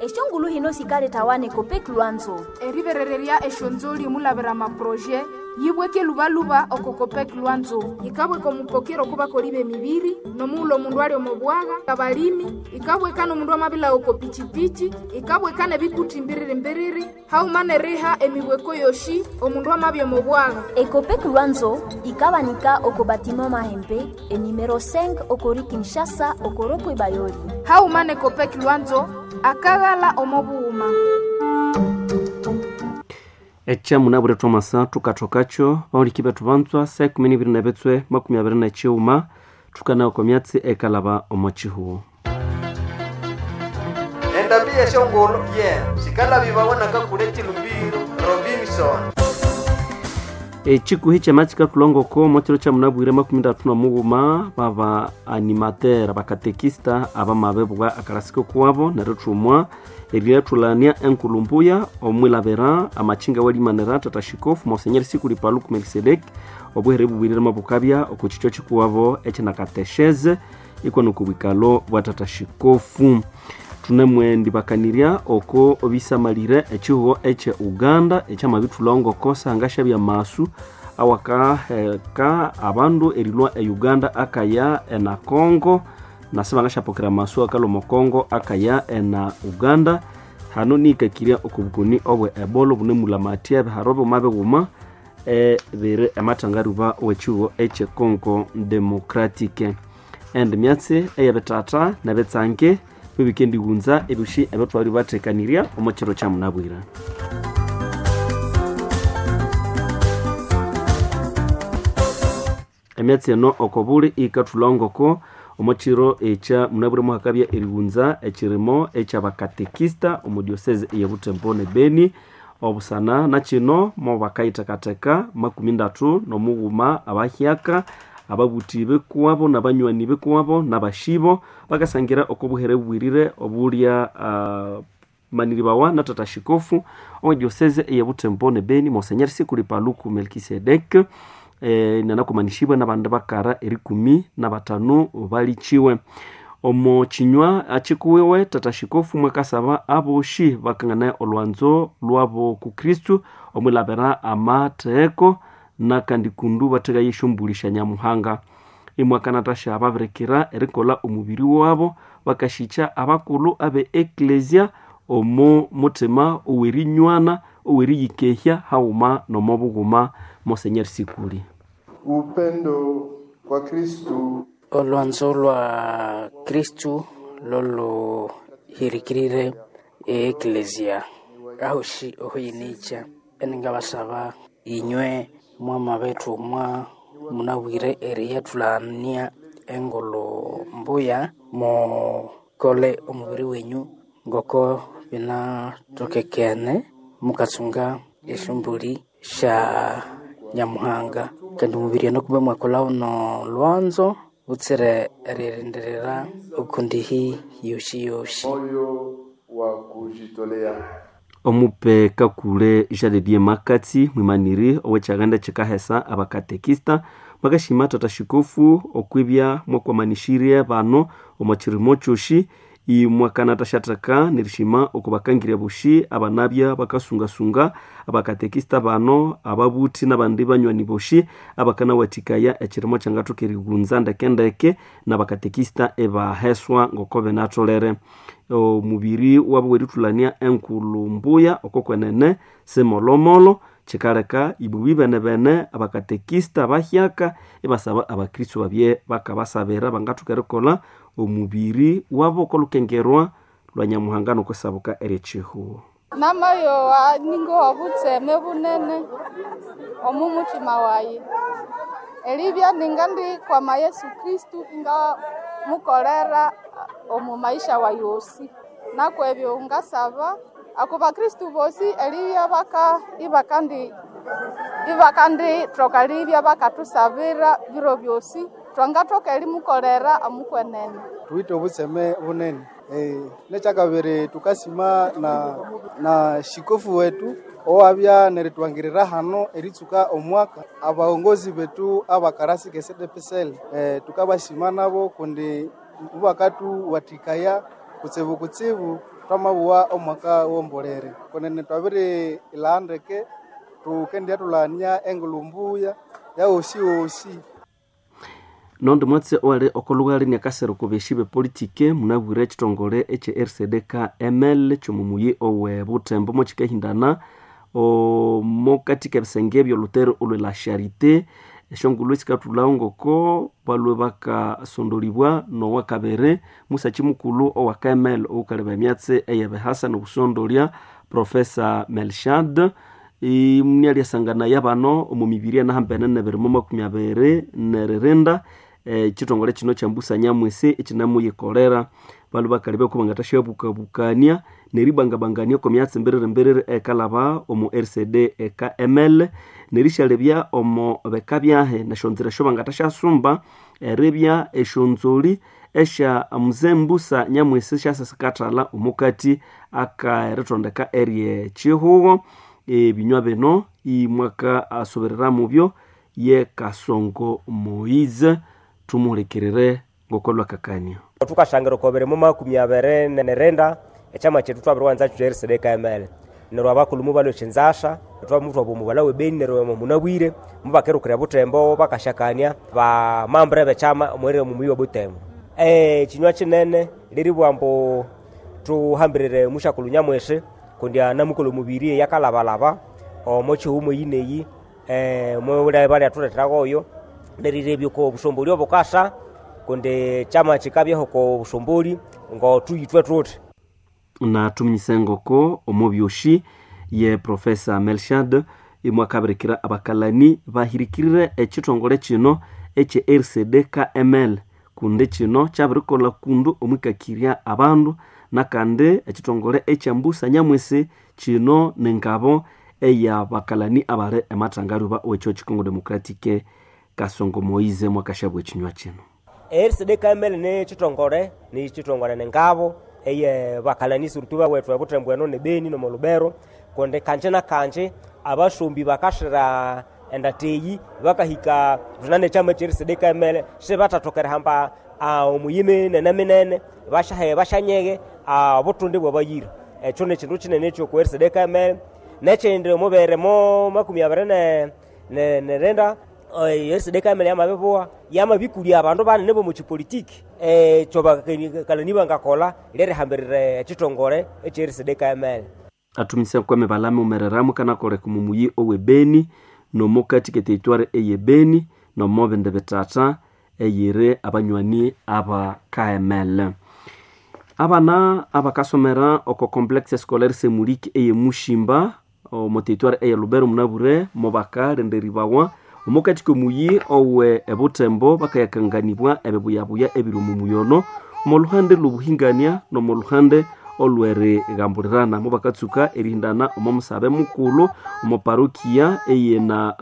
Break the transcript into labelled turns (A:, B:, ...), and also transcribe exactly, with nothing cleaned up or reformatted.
A: Eshongulu hino sikaletawa ne Copec Lwanzo.
B: Eriberererya eshonzoli omulabira amaproje yibweke lubaluba oko Copec Lwanzo. Yikabweka omupokero okubakoli b'emibiri nomughulhu omundu ali omo bwagha, abalimi, ikabweka n'omundu amabila oko pichipichi, ikabweka n'ebikuti mbiriri-mbiriri, haghuma n'eriha emibweko yoshi omundu amabya omo bwagha.
A: Ecopec Lwanzo ikabanika oko batiment Mahembe enumero cinq okori Kinshasa oko rond-point Bayoli.
B: Haghuma ne Copec Lwanzo akaghala omo bughuma.
C: Ekyamunabwire thwamasa thukathokacho bahuliki bethu banzwa saa ikumi nibiri nebitswe makumi abiri nekighuma thukanawa okwa myatsi ekalaba omo kihugho.
D: Endambi yeshongolo ye sikalabibawa nakakule chilumbiro Robinson.
C: Ekikuhi kyama kikathulongoko omo kiro kyamunabwire makumi ndatu nomughuma baba animateur abakatekista abamabibwa akalasiko kuwabo neryo thumwa eriathulania enkulumbuya omwilabira amachinga walimanira tata shikofu Monsenyeri Sikuli Paluku Melkisedek obuhere bubwirire mabukabya oko kikyo kikuwabo ekyenakatesheze iko nokubwikalo bwa tata shikofu. Thunemwendibakanirya oko bisamalire ekihugho ekye Uganda ekyamabithulhongoko sangashabya masu awakaheka abandu erilhwa e Uganda akaya ena Congo nasi bangasyapokera amasu akalhwa omo Congo akaya ena Uganda. Hano nihikakirya oko bukoni obwe Ebola obunemulamathya ebiharo bighuma bighuma ebiri emathangaruba owekihugho ekye Congo Democratic. Endi myatsi eyebithatha nebitsange bibikendighunza ebyosi ebyathwali bathekanirya omo kiro kyamunabwira. Emyatsi eno oko buli ikathulhongoko omo kiro ekya munabwire muhakabya erighunza ekirimo ekyabakatekista omo diocese eye Butembo ne Beni. Obusana nakino mobakayithekatheka makumi ndatu nomughuma abahyaka ababuthi bikuwabo nabanywani bikuwabo nabashibo bakasangira oko buhere bubwirire obulya uh, maniribawa na tata shikofu owe diocese eye Butembo ne Beni Monsenyeri Sikuli Paluku Melkisedek eh, nanakumanishibwa nabandi bakara erikumi nabatanu balichiwe. Omo kinywa akikuwiwe tata shikofu mwakasaba aboshi bakangana olwanzo lwabo ku Kristu omwilabira amatheko nakandi kundu batheka yeshombulisha Nyamuhanga. Imwakanatasha ababirikira erikolha omubiri wabo bakashikya abakulhu abe eklesia omo muthima owerinywana oweriyikehya haghuma nomo bughuma. Monsenyeri Sikuli.
E: Upendo kwa Kristu.
F: Olwanzo lwa Kristu loluhirikirire eeklesia ahoshi ohuyinikya eningabasaba inywe mwama bethu mwa munabwire eriyathulania engulu mbuya mukole omubiri wenyu ngoko binatokekene mukatsunga esyombuli sya Nyamuhanga kandi omubiri ono kumbe mwakolha no lwanzo butsire eririndirira okundihi yoshi yoshi.
E: Moyo wa kujitolea.
C: Omupe kakule Jean Makatsi mwimaniri owekyaganda kyikahesa abakatekista bakashima tata shikofu okwibya mwakwamanishirye bano omo kirimo kyoshi imwakanatashatheka nerishima okubakangirya boshi abanabya bakasungasunga abakatekista bano ababuthi nabandi banywani boshi abakanawathikaya ekirimo kyangathoka erighunza ndekendeke nabakatekista ebaheswa ngoko binatholere. Omubiri wabo werithulania enkulhu mbuya oko kwenene simolomolo kikaleka ibubi bene bene abakatekista bahyaka ibasaba abakristo babye bakabasabira bangathoka erikolha omubiri wabo okolukengerwa lwa Nyamuhanga nokwisabuka eryekihugho.
G: Namayowa ningowa butseme bunene omu muthima wayi eribya ningandikwama Yesu Kristu ingamukolera omu maisha wayi osi nakwebyo ngasaba ako bakristu bosi eribya baka ibakandi ibakandithoka ribya bakathusabira biro byosi twangathoka erimukolera omukwenene.
H: Thuwithe obutseme bunene eh, nekyakabiri tukasima na, na shikofu wetu owabya neritwangirira hano eritsuka omwaka abaongozi betu abakarasi ke C D P S L eh, tukabashima nabo kundi mubakatuwathikaya kutsibu kutsibu. Twamabuwa omwaka wombolere kunene twabiri ilandeke tukendya tulania engulu mbuya yawosi wosi.
C: Nondi mwatse owali okolughali niakasero kubeshi bepolitike munabwire ekitongole ekye R C D K M L kyomumuyi owe Butembo mokikahindana omo katika ebisenge ebyolhutere olwe la Charité. Esyongulhu esikathulhawo ngoko balwe bakasondolibwa nowakabiri musaki mukulhu owa K M L owukaleba emyatsi eyebihasa nobusondolya Professor Melshad imwalyasanganaya bano omu mibiri enahambene nebiri mu makumi abiri neririnda ekitongole kino kyambusa nyamwisi ekinamuyikolera. Balwe bakalebya ko bangathasyabukabukania neribangabangania oko myatsi mbiriri mbiriri ekalaba omu R C D K M L nerisyalebya omo beka byahe nesyonzira esyobangathasyasumba eribya esyonzoli esya Mzee Mbusa Nyamwisi syasasikathalha omukati akaeritondeka eryekihugo. Ebinywa bino imwaka asuberera mubyo ye Kasongo Moise tumuhulikirire ngokolwakakania.
I: Tukashangira okobere mu makumi abiri nerenda ekyama kyethu twabiriwanza kyo R C D K M L neryo abakulhu mubalwa ekyinzasha twamutwa omubalha webeni neryo munabwire mubakerukira Butembo bakashakania bamambure bekyama omwerere mumuyi wa Butembo. Ekinywa kinene liribwa ambu tuhambirire mushakulhu Nyamwisi kundi anamukolha omubiri eyakalabalaba omo kihuma eyineyi balyathuletheragoyo nerirebya oko busomboli obukasa kundi kyama kikabyaho oko busomboli ngothuyithwe thuthi.
C: Na tuminyise ngoko omubyoshi ye Professor Melshad imwakabirikira abakalani bahirikirire ekitongole kino ekye R C D K M L kundi kino kyabirikolha kundu omwikakirya abandu nakandi ekitongole ekyambusa Nyamwisi kino nengabo eyabakalani abali emathangaluba owekyo Kikongo Democratic. Kasongo Moize mwakashabwa ekinywa kino.
I: R C D K M L ni kitongole ni kitongole nengabo eye bakalanisi urutuba wethu ebutembo eno nebeni nomolubero kundi kanje na kanje abasombi bakashira endateyi bakahika runane ekyama ekye R C D K M L sibathathokera hamba omuyimi nene minene bashahe bashanyeghe obutundi bwabayira. Ekyo nekindu kinene ekyoku R C D K M L. Nekyindi omubere mo makumi abiri nerenda R C D K M L yamabibuwa yamabikulya abandu banene bomukipolitiki ekyo bakalani bangakolha lyerihambirira ekitongole ekye R C D K M L.
C: Atumise kwame balame umereramu kanakoleka omumuyi owebeni nomukati keteritwari eyebeni nomobindi bithatha eyiri abanywani aba K M L. Abana abakasomera oko Complexe Scolaire Semuliki eyemushimba omo territoire eye Lubero munabure mubakalenderibwawa omukati komuyi owe ebutembo bakayakanganibwa ebibuyabuya ebiri omu muyono omo luhande lwobuhingania nomo luhande olwerighambulirana mubakatsuka erihindana omo musabe mukulhu omo parokia eyena.